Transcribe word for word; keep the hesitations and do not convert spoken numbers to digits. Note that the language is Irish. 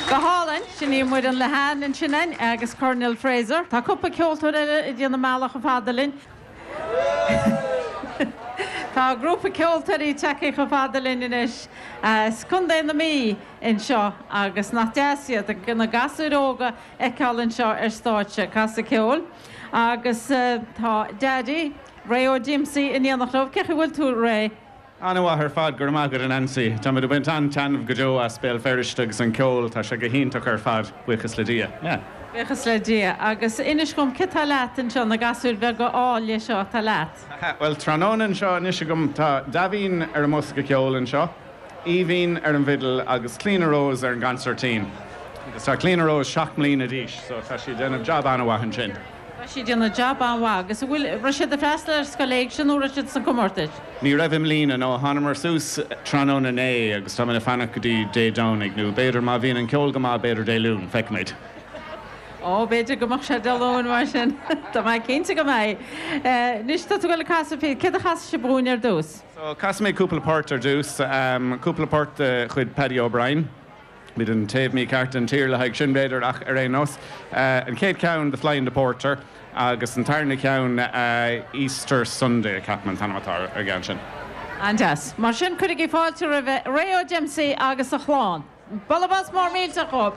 Go hálainn sin í Muireann Lehane ansin agus Colonel Fraser. Tá cúpla ceoltóir eile ag déanamh an bealach fada linn. Tá grúpa ceoltóirí tagtha chomh fada linn anois as Contae na Mí anseo agus nach deas iad na gasúir óga a fheiceáil anseo ar stáitse ag casadh ceoil. Agus uh, tá Daddy Ray Ó Díomsaí in éineacht leo, cén chaoi a bhfuil tú Ray. An-mhaith ar fad go maith a Nancy. Tá ag baint an-taitneamh go deo as Béal Feirste agus an ceol tá sé go hiontach ar fad buíochas le Dia. Yeah. Buíochas le Dia agus inis dom cé atá leat anseo na gasúir bheaga áille seo atá leat. Well tráthnóna anseo anois agam tá Davín ar an mbosca ceoil anseo, Aoibhín ar an bhfidil agus Clíona Rose ar an gconsairtín. Agus tá Clíona Rose seacht mbliana d'aois, so tá sí déanamh jab an-mhaith ansin. Tá sí déanamh jab an-mhaith agus bhfuil raibh siad ag freastal ar scoil éigse nó raibh siad sa comórtas. Ní raibh i mbliana nó thángamar suas tráthnóna inné agus tá ag fanacht go dtí Dé Domhnaigh nó b'fhéidir má bhíonn an ceol go maith b'fhéidir Dé Luain, feicfimid. Ó b'fhéidir go mbeidh sé Dé Luain mar sin Tá mé cinnte go mbeidh. Anois tá tú le casadh cé a chas sé búin ar dtús. So casfaidh mé cúpla port ar dtús, um, cúpla port de chuid Paddy O'Brien. Bhí an taobh mícheart an tír le haig sin b'fhéidir ach ar aon nós. Uh, an chéad ceann The Fly and the Porter agus an tarna ceann uh, Easter Sunday ceapaim an t-ainm atá ar an gceann sin. An-deas. Mar sin cuirigí fáilte roimh Ray Ó Dempsey agus a chlann. Bualadh bos mór millteach dóibh.